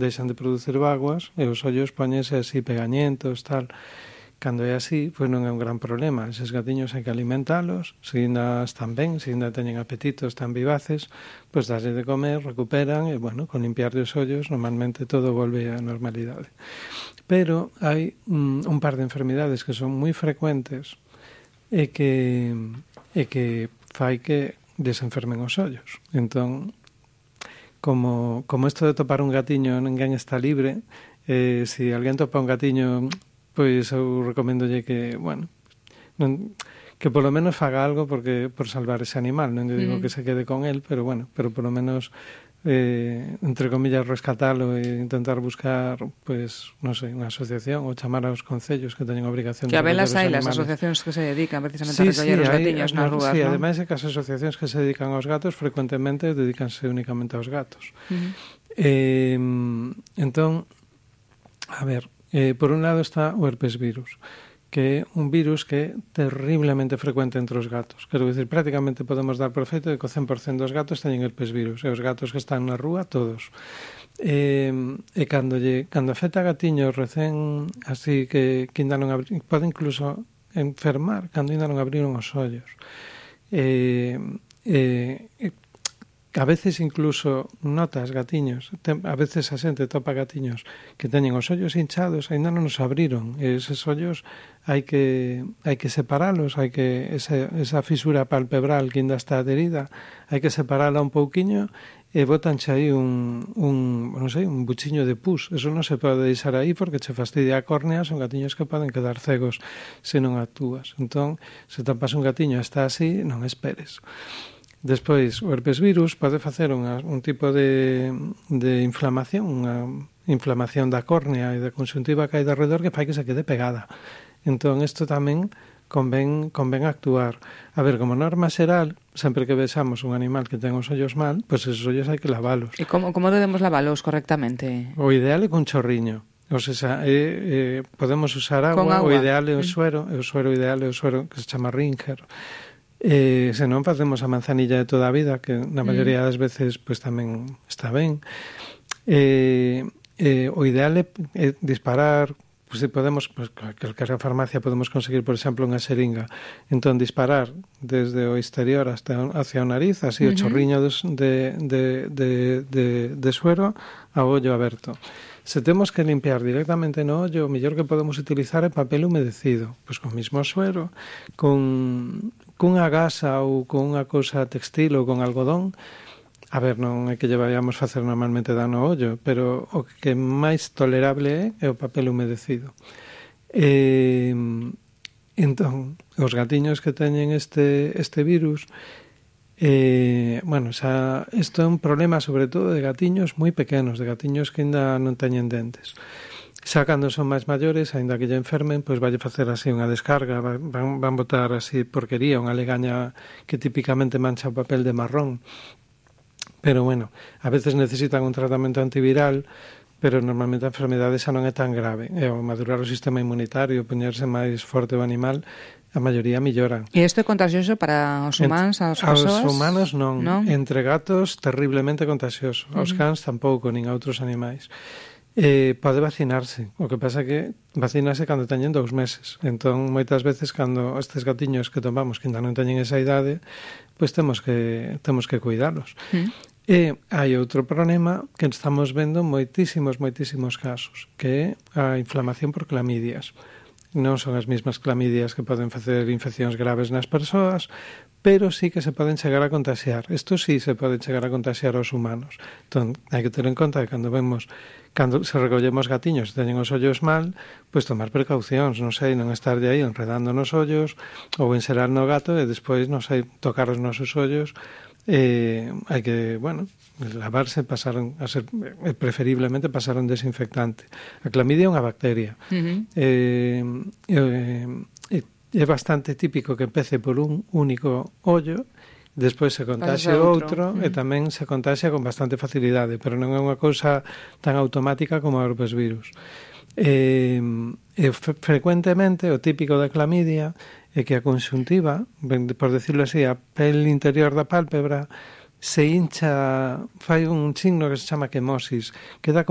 deixan de producir vaguas e os ollos póñense así pegañentos, tal. Cando é así, pois non é un gran problema. Eses gatiños hai que alimentalos, se ainda están ben, se ainda teñen apetito, están vivaces, pois darlle de comer, recuperan e, bueno, con limpiarlle os ollos, normalmente todo volve á normalidade. Pero hai un par de enfermidades que son moi frecuentes e que fai que desenfermen os ollos. Entón, como isto de topar un gatiño ninguén está libre, se alguén topa un gatiño, pois eu recomendolle que, bueno, que polo menos faga algo por salvar ese animal. Non digo que se quede con él, pero bueno, pero polo menos entre comillas rescatalo e intentar buscar, pois, non sei, unha asociación ou chamar aos concellos que teñen obrigación de recoller os animales. Que habelas hai as asociacións que se dedican precisamente a recoller os gatiños nas rúas, sí, non? Ademais é que as asociacións que se dedican aos gatos frecuentemente dedícanse únicamente aos gatos. Entón, a ver, por un lado está o herpes virus, que é un virus que é terriblemente frecuente entre os gatos. Quero dicir, prácticamente podemos dar por feito de que o 100% dos gatos teñen herpes virus, e os gatos que están na rúa, todos. E cando afecta a gatiños recén, así que ainda non abriron, pode incluso enfermar cando ainda non abriron os ollos. A veces incluso notas gatiños, a veces a xente topa gatiños que teñen os ollos hinchados, ainda non os abriron, e eses ollos hai que separalos, hai que esa fisura palpebral que ainda está adherida, hai que separala un pouquiño e botanche aí un buchiño de pus. Eso non se pode deixar aí porque che fastidia a córnea, son gatiños que poden quedar cegos se non actúas. Entón, se topas un gatiño e está así, non esperes. Despois, o herpes virus pode facer un tipo de inflamación, unha inflamación da córnea e da conxuntiva que hai de arredor que fai que se quede pegada. Entón, isto tamén convén actuar. A ver, como norma xeral, sempre que vexamos un animal que ten os ollos mal, pois esos ollos hai que lavalos. E como debemos lavalos correctamente? O ideal é con chorriño. O sea, podemos usar agua, o ideal é o suero ideal é o suero que se chama Ringer. Se non facemos a manzanilla de toda a vida, que na maioría das veces pois tamén está ben. O ideal é disparar, pois se podemos, pois calquera farmacia podemos conseguir, por exemplo, unha xeringa. Entón disparar desde o exterior hacia o nariz, así o chorriño de suero ao ollo aberto. Se temos que limpiar directamente no ollo, o mellor que podemos utilizar é papel humedecido, pois con mismo suero, cunha gasa ou con unha cousa textil ou con algodón. A ver, non é que lle vayamos facer normalmente dano ao ollo, pero o que máis tolerable é o papel humedecido. Entón, os gatiños que teñen este virus, isto é un problema sobre todo de gatiños moi pequenos, de gatiños que ainda non teñen dentes. Xa cando son máis maiores, aínda que lle enfermen, pois valle facer así unha descarga, van botar así porquería, unha legaña que típicamente mancha o papel de marrón. Pero bueno, a veces necesitan un tratamento antiviral, pero normalmente a enfermedade xa non é tan grave. E ao madurar o sistema inmunitario, poñerse máis forte o animal, a maioría melloran. E isto é contagioso para os humanos, as persoas? Aos humanos non. Entre gatos, terriblemente contagioso. Aos cans tampouco, nin a outros animais. Pode vacinarse. O que pasa é que vacínase cando teñen 2 meses. Entón, moitas veces, cando estes gatiños que tomamos que ainda non teñen esa idade, pois temos que cuidalos. E hai outro problema que estamos vendo moitísimos casos, que é a inflamación por clamidias. Non son as mesmas clamidias que poden facer infeccións graves nas persoas, pero sí que se poden chegar a contaxiar. Isto sí se pode chegar a contaxiar aos humanos. Entón, hai que ter en conta que cando se recollemos gatiños e teñen os ollos mal, pois tomar precaucións, non sei, non estar de aí enredando nos ollos ou enxerar no gato e despois, non sei, tocar os nosos ollos. Hai que, lavarse, preferiblemente pasar un desinfectante. A clamidia é unha bacteria. É bastante típico que empece por un único ollo, despois se contaxe outro e tamén se contaxe con bastante facilidade, pero non é unha cousa tan automática como o herpes virus. Frecuentemente o típico da clamidia é que a conxuntiva, por decirlo así, a pel interior da pálpebra se hincha, fai un signo que se chama quemosis, queda